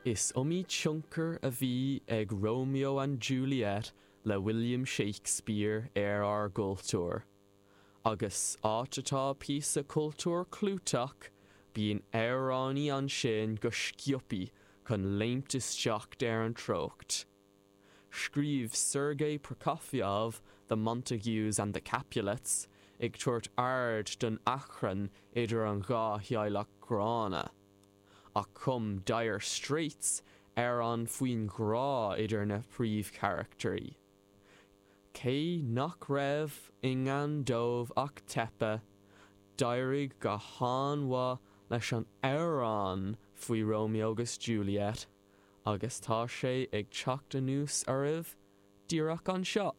Is iomaí tionchar a bhí ag Romeo and Juliet le William Shakespeare ar ár gcultúr. Agus áit atá píosa cultúir clúiteach, bíonn amhránaí ansin go sciobtha chun léimt isteach ar an treocht. Scríobh Sergei Prokofiev The Montagues and the Capulets ag tabhairt aird don achrann idir an dhá theaghlach ghránna. Ach chum Dire Straits amhrán faoin ghrá idir na príomhcharachtairí. Cé nach raibh i ngan dóibh ach teipeadh, d'éirigh go han-mhaith leis an amhrán faoi Romeo agus Juliet agus tá sé ag teacht anuas oraibh díreach anseo.